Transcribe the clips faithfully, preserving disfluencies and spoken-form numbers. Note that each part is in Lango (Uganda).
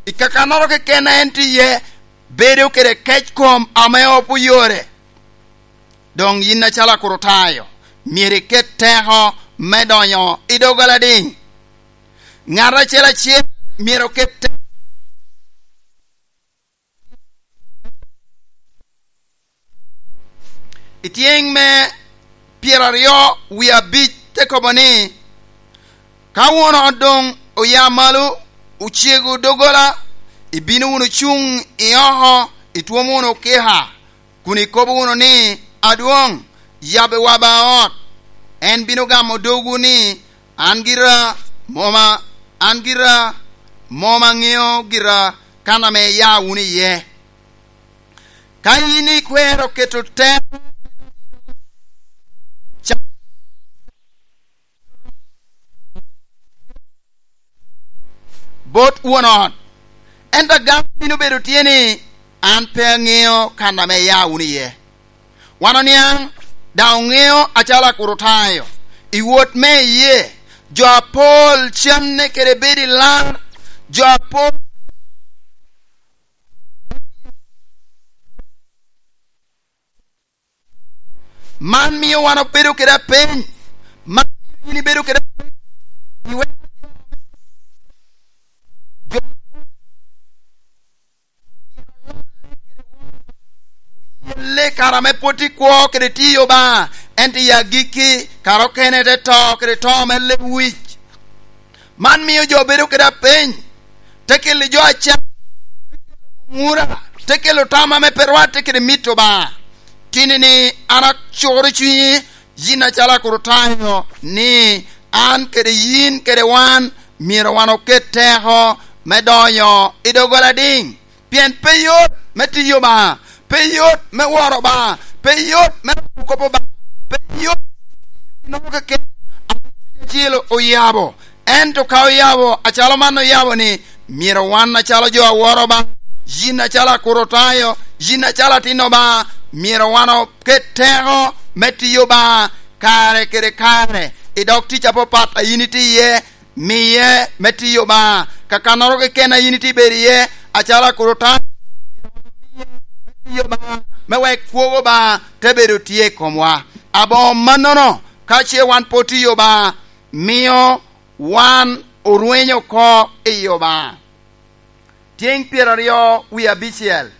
I kakannoro keken a en tye iye, bedo kede kec kom ame opo yore. Doŋ yin acalo Akrutayo, myero iket teko me donyo i doggola diŋ. Ŋat acel acel myero oket teko. I tyeŋ me pyeraryo wie abic te kobo ni, "Ka won ot doŋ oya malo, ocego doggola, ibino wunu cuŋ i oko, itwomo wunu okika, kun ikobo wunu ni, 'Adwoŋ, yabbiwa ba ot.' En bino gamo dogwu ni, 'An gira mom a-, an gira mom aŋeo gira kan ame iya wunu iye.'" Ka yin ikwero keto teko bot won ot, ento agamo bino bedo tye ni, "An pe aŋeo kan ame iya wunu iye." Wan oniaŋ, daŋ oŋeo acalo Akrutayo, i wot me iyee, jo apol canne kede bedo i lar, jo apol Man mio wan obedo kede apeny. Man mio yin ibedo kede apeny. Iweko jo oye le kare ame pwod tye kwo kede tiyo Obaŋa, ento i agikki, kare okene te to kede to me lewic. Man mio jo bedo kede apeny, te kelo jo acan, ŋura, te kelo tam ame pe rwatte kede mit Obaŋa. Tini-ni an acukoro cunyi, yin acalo Akrutayo, ni an kede yin kede wan myero wan oket teko me donyo i doggola diŋ. Pien pe yot me tiyo Obaŋa, pe yot me woro Obaŋa, pe yot me loko kop Obaŋa, pe yot noko keken ame Cuny Acil oyabo. Ento ka oyabo acalo man oyabo ni, myero wan acalo jo a woro Obaŋa, yin acalo Akrutayo, yin acalo atin Obaŋa, myero wan oket teko me tiyo Obaŋa kare kede kare, i dog tic apapat a yin itye iye, miye me tiyo Obaŋa. Kakannoro keken a yin itye bedo iye, acalo Akrutayo, me tiyo Obaŋa, me wek kwogo Obaŋa te bedo tye i komwa. Aboŋo mannono, ka ce wan pe otiyo Obaŋa, mio wan orwenyo oko i Obaŋa. Tyeŋ pyeraryo wie abicel,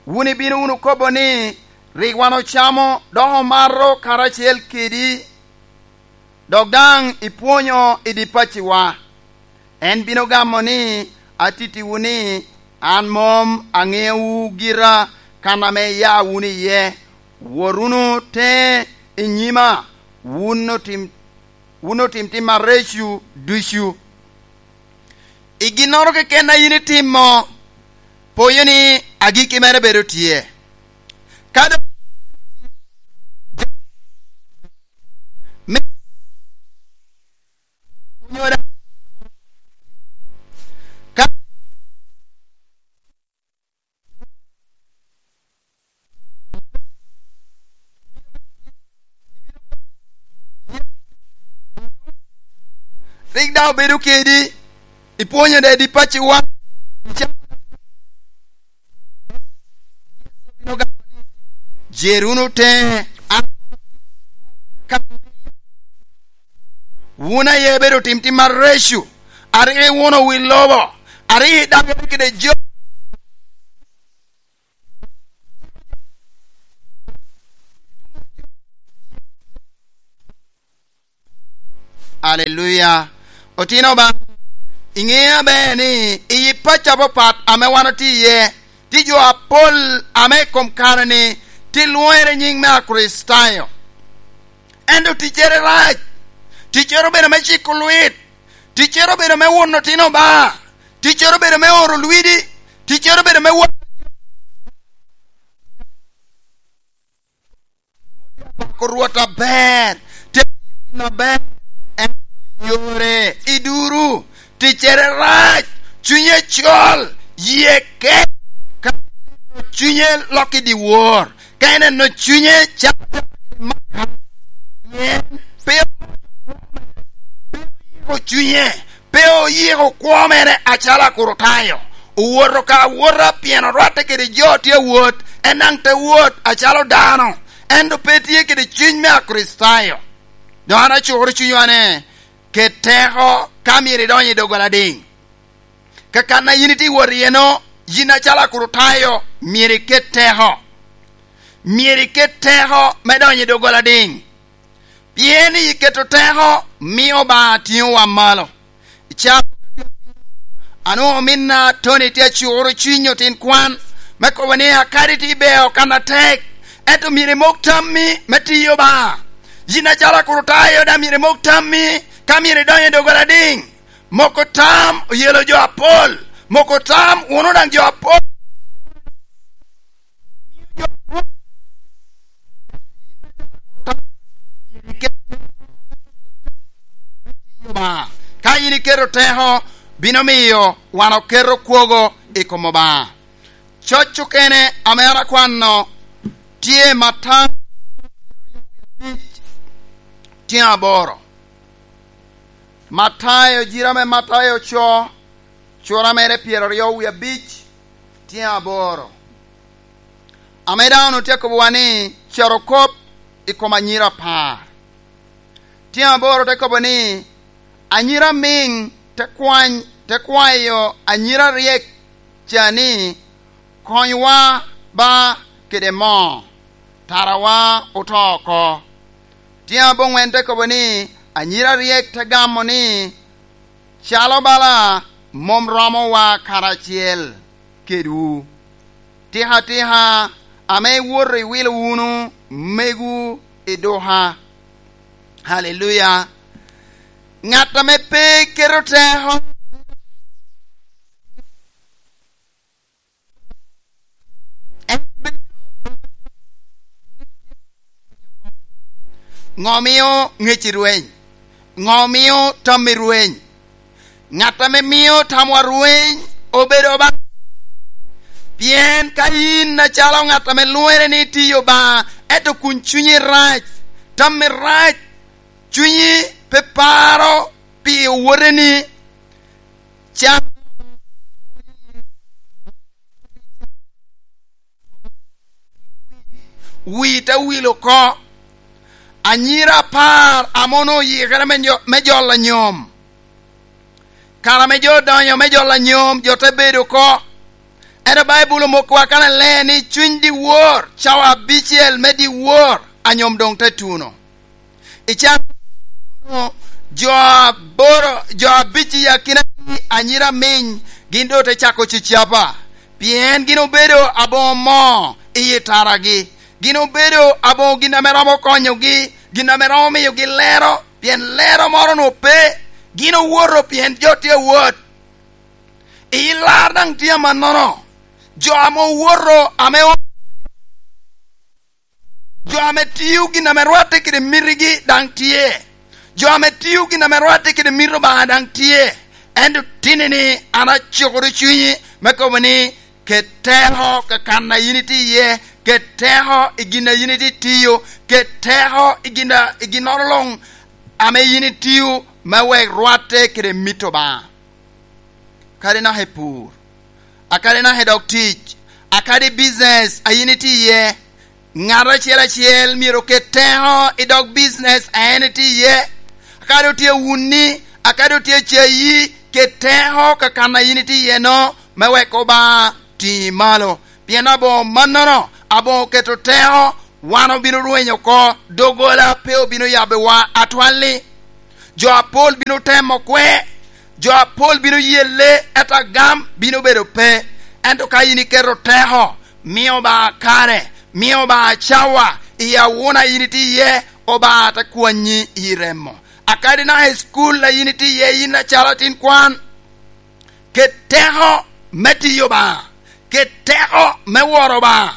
wun ibino wunu kobo ni, "Rik wan ocamo dok omato karacel kedi, dok daŋ ipwonyo i di pacciwa." En bino gamo ni, "Atittiwu ni, an mom aŋeowu gira kan ame iya wunu iye. Wot wunu teŋe i nyima, wun otim, wun otim tim areco ducu." I ginnoro keken a yin itimo, poyo ni agikki mere bedo tye. Ka doŋ me, ka Rik daŋ obedo kedi, ipwonyo dede i pacciwa. Jer wunu teŋe, wun aye ibedo tim tim areco, a rik iwuno wi lobo, a rik idagere kede jo. Aleluya. Otino Obaŋa, iŋeo aber ni i pacci apapat ame wan otye iye, tye jo apol ame i kom kare-ni tye lwoŋere nyiŋ me Akricitayo. Ento ticcere rac. Ticcere obedo me ciko lwit. Ticcere obedo me wuno otino Obaŋa. Ticcere obedo me oro lwidi. Ticcere obedo me wa-, Pako Rwot aber, te gin aber, en yore i duru, ticcere rac, cunye col, yie kec, ka en eno cunye lok i dyewor, ka en eno cunye calo maka, pien pe, pe oyiko cunye, pe oyiko kwo mere acalo Akricitayo, owoto ka awota pien orwatte kede jo tye awot, en daŋ te wot acalo dano, ento pe tye kede cuny me Akricitayo. Dok an acukoro cunywa ni, ket teko ka myero idony i doggola adiŋ. Ka kan a yin itye wot iye-no, yin acalo Akricitayo myero iket teko. Myero iket teko me donyo i doggola adiŋ. Pien i keto teko mio Obaŋa tiŋowa malo. I caa anwoŋo ominna Tony tye acuro cuny otin kwan me kobo ni, akadi tye i beo kan atek, ento myero imok tammi me tiyo Obaŋa. Yin acalo Akricitayo daŋ myero imok tammi ka myero idonyo i doggola adiŋ. Moko tam oyelo jo apol, moko tam wunu daŋ jo apol. Ka yin iketo teko, bino miyo wan oketo kwogo i kom Obaŋa. Coc okene ame an akwano tye Matayo tyen aboro. Matayo, jira me Matayo co, cura mere pyeraryo wie abic, tyen aboro. Ame dano tye akobowa ni, carokop i kom anyira apar. Tyen aboro te kobo ni, anyira amiŋ te kwany, te kwayo anyira aryek ca ni, konywa ba kede moo, tarawa oto oko. Tyen aboŋwen te kobo ni, anyira aryek te gamo ni, calo bala mom romowa karacel kedwu. Tika tika ame iwoto iwilo wunu megu i duka. Haleluya. Ŋat ame pe keto teko Ŋo mio ŋec i rweny? Ŋo mio tam i rweny? Ŋat ame mio tamwa rweny obedo Obaŋa. Pien ka yin acalo ŋat ame lwere ni itiyo Obaŋa, ento kun cunyi rac, tammi rac, cunyi pe paro pi owoteni, can wi te wil oko. Anyira apar ame onwoŋo oyikere me nyo-, me jolo anyom. Kare ame jo odonyo me jolo anyom, jo te bedo oko. Ento Baibul omokkowa kannaler ni cuny dyewor, cawa abicel me dyewor, anyom doŋ te tuno. I can jo aboro, jo abic i akinagi anyira amiŋ, gin doŋ te cako cicapa, pien gin obedo aboŋo moo i yi taragi. Gin obedo aboŋo gin ame romo konyogi, gin ame romo miyogi lero, pien lero moro onwoŋo pe. Gin owoto pien jo tye awot. I lar daŋ tye amannono. Jo ame owoto, ame o-, jo ame tio gin ame rwatte kede mitigi daŋ tye. Jo ame tio gin ame rwatte kede mito Obaŋa daŋ tye. Ento tinni-ni an acukoro cunyi me kobo ni, ket teko ka kan a yin itye iye, ket teko i gin a yin itye tio, ket teko i gin a, i ginnoro luŋ ame yin itio me wek rwatte kede mit Obaŋa. Kadi naka i pur, akadi naka i dog tic, akadi i bicinec a yin itye iye, ŋat acel acel myero oket teko i dog bicinec a en itye iye. Akadi otye awunni, akadi otye acayi, ket teko ka kan a yin itye iye-no me wek Obaŋa tiŋi malo. Pien aboŋo mannono, aboŋo keto teko, wan obino rweny oko, doggola pe obino yabbewa atwal-li. Jo apol bino temo kwe, jo apol bino yelle, ento agam bino bedo pe. Ento ka yin iketo teko, mio Obaŋa kare, mio Obaŋa cawa, i awuna yin itye iye, Obaŋa te kwanyi i remo. Akadi naka i cukul a yin itye iye, yin acalo atin kwan, ket teko me tiyo Obaŋa, ket teko me woro Obaŋa.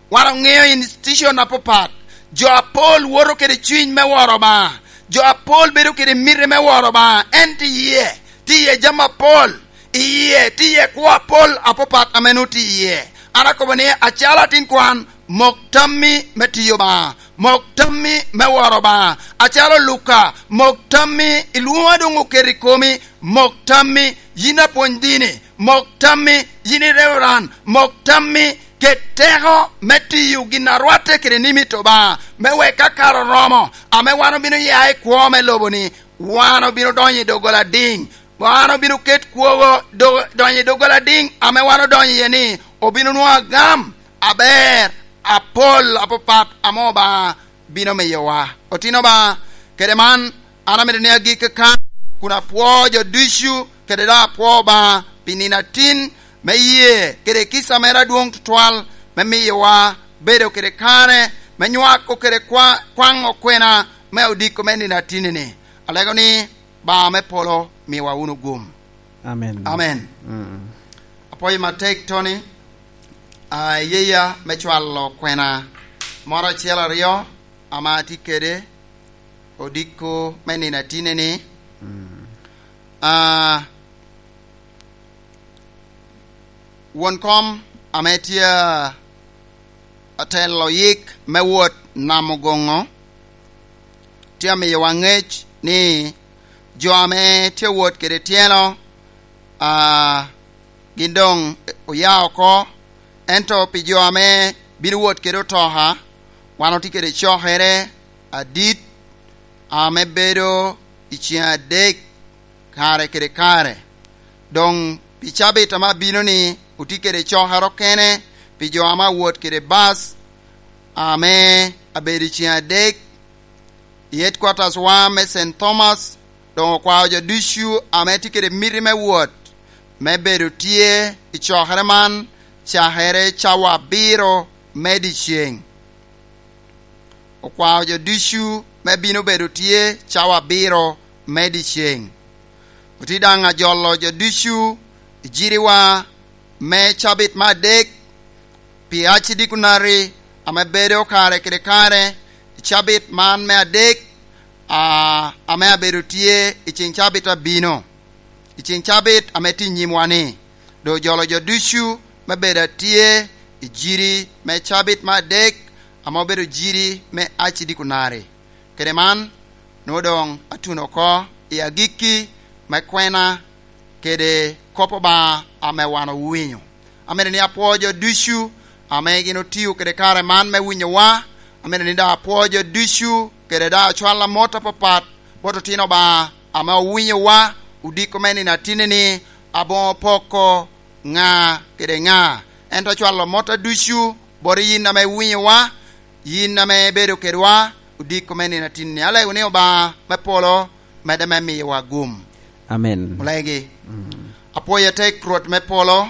Wan oŋeo institution apapat. Jo apol woto kede cuny me woro Obaŋa. Jo apol bedo kede miti me woro Obaŋa. En tye iye, tye iye jami apol. Iye tye iye kwo apol apapat ame nwoŋo tye iye. An akobo ni, acalo atin kwan, Mok tammi me tiyo Obaŋa, mok tammi me woro Obaŋa. Acalo Luka, mok tammi i lwoŋo a doŋ oketo i komi, mok tammi yin apwony dini, mok tammi yin i reveran, mok tammi ket teko me tiyo gin a rwatte kede ni mito Obaŋa, me wek ka kare oromo, ame wan obino ya i kwo me lobo-ni, wan obino donyo i doggola adiŋ. Wan obino ket kwogo do-, donyo i doggola adiŋ ame wan odonyo iye-ni, obino nwoŋo agam aber apol apapat ame Obaŋa bino miyowa. Otino Obaŋa, kede man, an amito ni agik kan kun apwoo jo ducu, kede daŋ apwoo Obaŋa pi nino atin me yee kede kica mere adwoŋ tutwal me miyowa bedo kede kare me nywako kede kwa-, kwaŋo kwena me odiko me nino atinni-ni. Alego ni, Obaŋa me polo miwa wunu gum. Amen. Amen. Mm. Apwoyo matek, Tony, a, iyeya me cwalo kwena moro acel aryo ame atye kede odiko me nino atinni-ni. Mm. A, won kom ame tye a-, atelo yik me wot Nam Ogoŋo, tye amiyowa ŋec ni jo ame tye wot kede tyeno, a, gin doŋ oya oko, ento pi jo ame bino wot kede otoka, wan otye kede cokere adit ame bedo i ceŋ adek kare kede kare. Doŋ pi cabit ame abino-ni, otye kede cokere okene pi jo ame awot kede bas ame abedo i ceŋ adek i headquarters wa me Saint Thomas. Doŋ okwao jo ducu ame tye kede miti me wot me bedo tye i cokere man cakere cawa abiro me dyeceŋ. Okwao jo ducu me bino bedo tye cawa abiro me dyeceŋ. Otye daŋ ajolo jo ducu i jiriwa me cabit me adek pi acidi kunari ame bedo kare kede kare i cabit man me adek, a, ame abedo tye i ceŋ cabit abino, i ceŋ cabit ame tye i nyimwa-ni. Doŋ ojolo jo ducu me bedo atye i jiri me cabit me adek, ame obedo jiri me acidi kunari. Kede man, nwoŋo doŋ atuno oko i agikki me kwena kede kop Obaŋa ame wan owinyo. Amito ni apwo jo ducu ame gin otio kede kare man me winyowa. Amito ni daŋ apwo jo ducu kede daŋ acwal amot apapat bot otino Obaŋa ame owinyowa odiko me nino atinni-ni, aboŋo poko ŋa kede ŋa. Ento acwalo motta ducu bot yin ame iwinyowa, yin ame ibedo kedwa, odiko me nino atinni. Alego ni Obaŋa me polo medde me miyowa gum. Amen. Olegi. Mm. Apwoyo atek, Rwot me polo,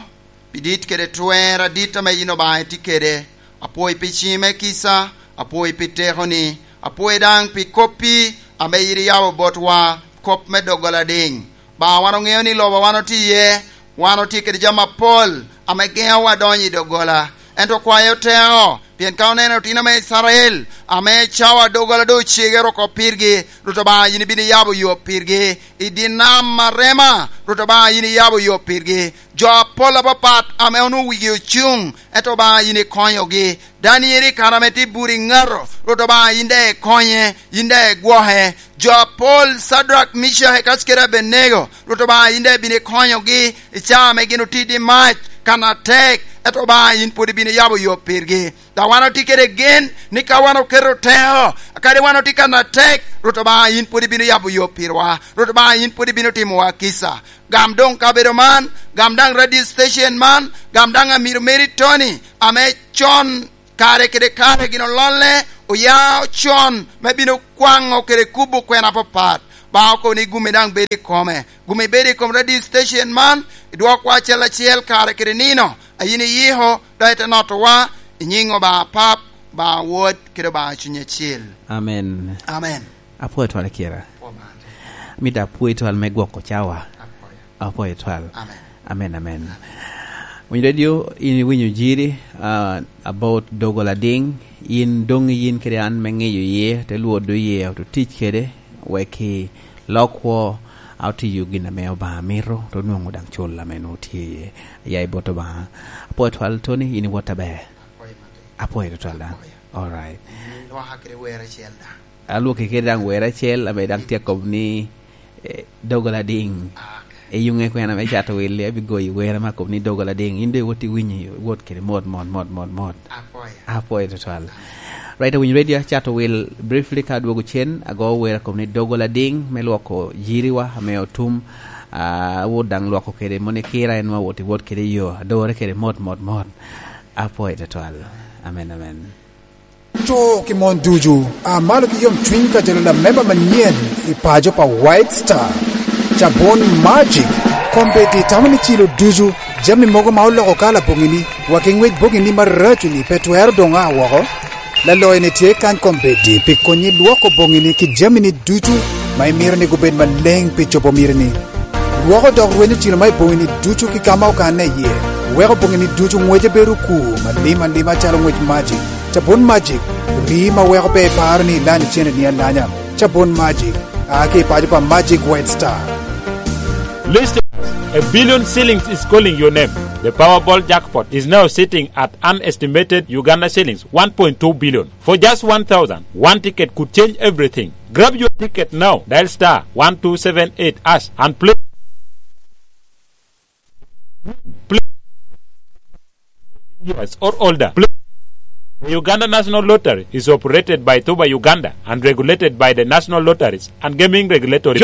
pi dit kede twer adit ame yin Obaŋa itye kede. Apwoyi pi ciŋi me kica, apwoyi pi tekoni, apwoyi daŋ pi koppi ame yin iyabo botwa, kop me doggola adiŋ. Ba wan oŋeo ni lobo wan otye iye, wan otye kede jami apol ame geŋowa donyo i doggola. Ento kwayo teko, pien ka oneno otino me Icrael ame cawa doggola doŋ ocegere oko pirgi, Rwot Obaŋa yin ibino iyabo yo pirgi. I dye nam Arema, Rwot Obaŋa yin iyabo yo pirgi. Jo apol apapat ame onwoŋo wigi ocuŋ, ento Obaŋa yin ikonyogi. Daniel i kare ame tye bur i ŋato, Rwot Obaŋa yin daŋ ikonye, yin daŋ igwoke. Jo apol, Cadrak, Micak, Ecak kede Abenego, Rwot Obaŋa yin daŋ ibino ikonyogi i caa ame gin otidi mac kan atek, ento Obaŋa yin pwod ibino yabo yo pirgi. Dok wan otye kede gen ni ka wan oketo teko, kadi wan otye kan atek, Rwot Obaŋa yin pwod ibino yabo yo pirwa, Rwot Obaŋa yin pwod ibino timowa kica. Gam doŋ kabedo man, gam daŋ radio station man, gam daŋ amiro meri Tony, ame con kare kede kare gin ololle, oya con me bino kwaŋo kede kubo kwena apapat. Ba oko ni gumi daŋ bedo i kome. Gumi bedo i kom radio station man, idwokwa acel acel kare kede nino, a yin iyiko, dok ite notowa, i nyiŋ Obaŋa Pap, Obaŋa Wod, kede Obaŋa Cuny Acil. Amen. Amen. Apwoyo twal, Kira. Apwoyo man. Amito apwoyi twal me gwoko cawa. Apwoyo. Apwoyo twal. Amen. Amen, amen. Winy radio, in iwinyo jiri, ah, about doggola adiŋ, in doŋ yin kede an me ŋeyo iye, te lwodo iye, oto tic kede, wek i lok kwo, a otiyo gin ame Obaŋa mito, to nwoŋo daŋ cul ame nwoŋo tye iye. Ya i bot Obaŋa. Apwoyo twal, Tony, in iwot aber. Apwoyo tutwal daŋ. Apwoyo. All right. Lwaka kede wer acel daŋ. Alwoki kede daŋ wer acel, ame daŋ tye akobo ni, eh, doggola diŋ. Ah, okay. Iyuŋe kwena me cato wil, abigoyi wer ame akobo ni doggola diŋ. In doŋ iwot iwinyo, iwot kede mot, mot, mot, mot, mot. Apwoyo. Apwoyo tutwal. Right, awinyo radio, acato wil briefly ka adwogo cen, ago wer akobo ni doggola diŋ, me lwoko yiriwa, ame otum, ah, awot daŋ lwoko kede mono i kira, en wa wot iwot kede i yo, adore kede mot, mot, mot. Apwoyo tutwal. Amen, amen. To ki mon ducu, a malo ki yomcwiny ka jalo lamemba manyen i paco pa White Star. Cabun Magic, kombeddi tamo ni cilo ducu, jami mogo ma oloko kala boŋini, wa ki ŋwec boŋini maraco-ni pe twero doŋ a woko. Laloyo-ni tye kany kombeddi pi konyi lwoko boŋini ki jamini ducu ma imito ni gubed maleŋ pi cobo mitini. Lwoko dok rwenyo cilo ma i boŋini ducu ki ka ma okanne iye, weko boŋini ducu ŋwece bedo okur malim alima calo ŋwec Magic. Cabun Magic, rii ma weko pe iparo ni ilanyo cene-ni alanya. Cabun Magic, a ki i paco pa Magic White Star. Listeners, a billion shillings is calling your name. The Powerball jackpot is now sitting at an estimated Uganda shillings one point two billion. For just one thousand, one ticket could change everything. Grab your ticket now. Dial star one two seven eight hash and play. Play years or older. Play. The Uganda National Lottery is operated by Tuba Uganda and regulated by the National Lotteries and Gaming Regulatory.